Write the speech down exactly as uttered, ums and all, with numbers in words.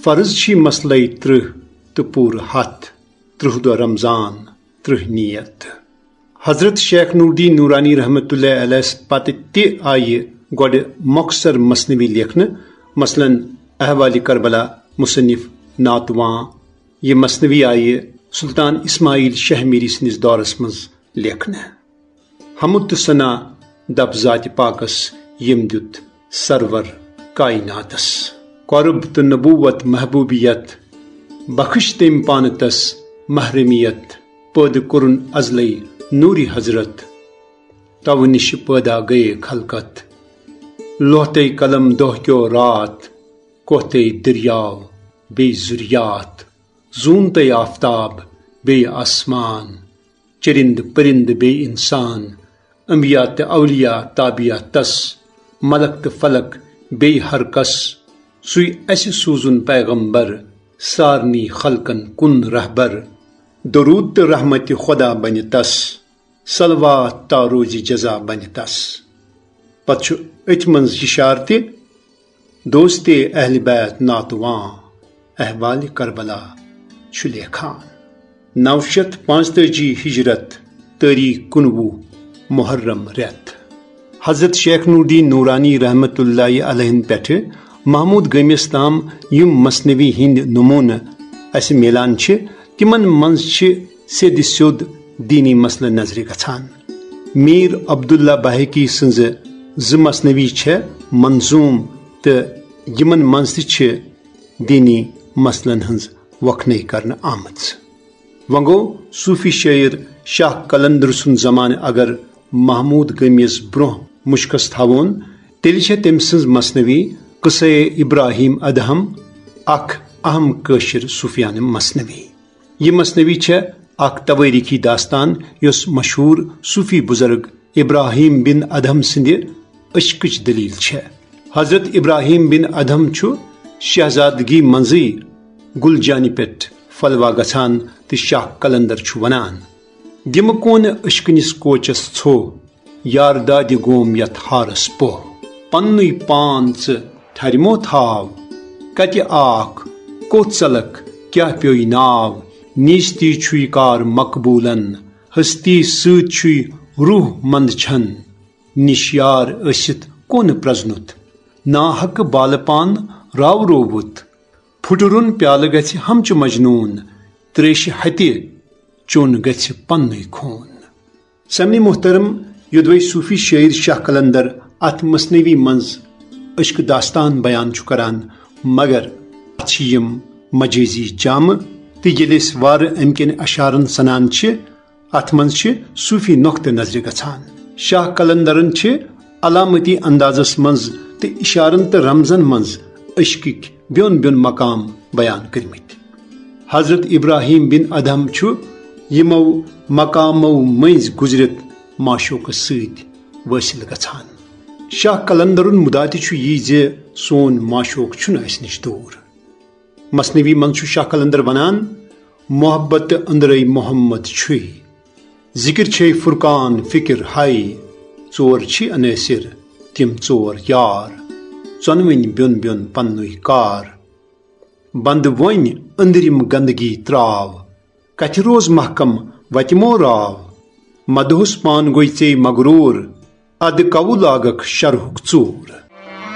فرض چھی مسلے ترٕہ تہٕ پوٗرٕ ہتھ، ترٕہ دۄہ رمضان، ترٕہ نیت۔ حضرت شیخ نوردین نورانی رحمت اللہ علیہ پتہٕ تہِ آیہِ گۄڈٕ مۄخصر مثنوی لیکھنہٕ، مثلاً احوالِ کربلا مصنف ناتواں۔ یہِ مثنوی آیہِ سلطان اسماعیل شہمیری سٕنٛدِس دورس منٛز لیکھنہٕ۔ حمد تہٕ ثنا دپ ذاتِ پاکس، ییٚمۍ دیُت سرور کائناتس۔ قرب تہٕ نبوت محبوبیت، بخش تٔمۍ پانہٕ تس محرمیت۔ پٲدٕ کوٚرُن ازلے نوٗرِ حضرت، توٕ نِش پٲدا گٔیے خلقت۔ لوہتے قلم دۄہ کیو رات، کوہتے دٔریاو بیٚیہِ ذُریات۔ زوٗنتے آفتاب بیٚیہِ آسمان، چرندٕ پرندٕ بیٚیہِ انسان، انبیاء تہٕ اولیاء تابعہ تس، ملک تہٕ فلک بیٚیہِ ہر کس۔ سُے اسہِ سوٗزُن پیغمبر، سارنٕے خلقن کُن رہبر۔ درود تہٕ رحمتِ خدا بنہِ تس، صلوات تا روزِ جزا بنہِ تس۔ پتہٕ چھُ أتھۍ منٛز اِشارٕ تہِ، دوستِ اہلِ بیت ناتواں احوالِ کربلا چھُ لیکھان۔ نو شیٚتھ پانٛژتٲجی ہجرت، تٲریخ کُنوُہ محرم رٮ۪تھ۔ حضرت شیخ نوردین نورانی رحمت اللہ علیہ پٮ۪ٹھٕ محمود گٲمِس تام یِم مثنوی ہٕنٛدۍ نمونہٕ اسہِ میلان چھِ، تِمن منٛز چھِ سیٚدِ سیوٚد دینی مسلہٕ نظرِ گژھان۔ میر عبداللہ بحیقی سٕنٛزٕ زٕ مثنوی چھےٚ منظوم تہٕ یِمن منٛز تہِ چھِ دینی مسلن ہٕنٛز وۄکھنے کرنہٕ آمٕژ۔ وۄنۍ گوٚو، صوفی شٲعر شاہ قلندر سُنٛد زمانہٕ اگر محمود گٲمِس برونٛہہ مُشکس تھاوون، تیٚلہِ چھےٚ تٔمۍ سٕنٛز مثنوی قصے ابراہیم ادہم اکھ اہم کٲشِر صوفیانہٕ مثنوی۔ یہِ مثنوی چھےٚ اکھ توٲریخی داستان، یۄس مشہوٗر صوفی بزرگ ابراہیم بن ادہم سٕنٛدِ عشقٕچ دٔلیٖل چھےٚ۔ حضرت ابراہیم بن ادہم چھُ شہزادگی منٛزٕے گُل جانہِ پٮ۪ٹھ پھلوا گژھان تہٕ شاہ قلندر چھُ ونان، "دِمہٕ کونہٕ عشقٕنِس کوچس ژھوٚ، یار دادِ گوم یتھ ہارس پوہ۔ پننُے پان ژٕ ٹھرمو تھاو، کتہِ آکھ، کوٚت ژلکھ، کیاہ پیوٚے ناو؟ نیستی چھُے کار مقبوٗلن، ہستی سۭتۍ چھُے روح مند چھن۔ نِش یار ٲسِتھ کونہٕ پرزنُت، ناحق بالہٕ پان راورووُت۔ پھُٹرُن پیالہٕ گژھِ ہمچہِ مجنوٗن، تریشہِ ہتہِ چوٚن گژھِ پننُے خوٗن۔" سمعِ محترم، یوٚدوے صوفی شٲعر شاہ قلندر اتھ مثنوی منٛز عشق داستان بیان چھُ کران، مگر اتھ چھِ یِم مجٲزی جامہٕ، تہٕ ییٚلہِ أسۍ وارٕ امہِ کٮ۪ن اشارن سنان چھِ، اتھ منٛز چھِ صوفی نۄقطہٕ نظرِ گژھان۔ شاہ قلندرن چھِ علامتی اندازس منٛز تہٕ اشارن تہٕ رمزن منٛز عشقٕکۍ بیوٚن بیوٚن مقام بیان کٔرمٕتۍ۔ حضرت ابراہیم بن ادہم چھُ یِمو مقامو مٔنٛزۍ گُزرِتھ معشوقس سۭتۍ وٲصِل گژھان۔ شاہ قلندرُن مُدا تہِ چھُ یی زِ سون معشوق چھُنہٕ اسہِ نِش دوٗر۔ مثنوی منٛز چھُ شاہ قلندر ونان، "محبت تہٕ أنٛدرَے محمد چھُے، ذکر چھے فرقان فکر ہاے، ژور چھی عناصر تِم ژور یار، ژۄنوٕنۍ بیوٚن بیوٚن پننُے کار۔ بنٛد وۄنۍ أنٛدرِم گندگی تراو، کتھِ روز محکم وتہِ مو راو، مدہوس پان گوٚے ژے مغروٗر، ادٕ کوٕ لاگکھ شرحُک ژوٗر۔"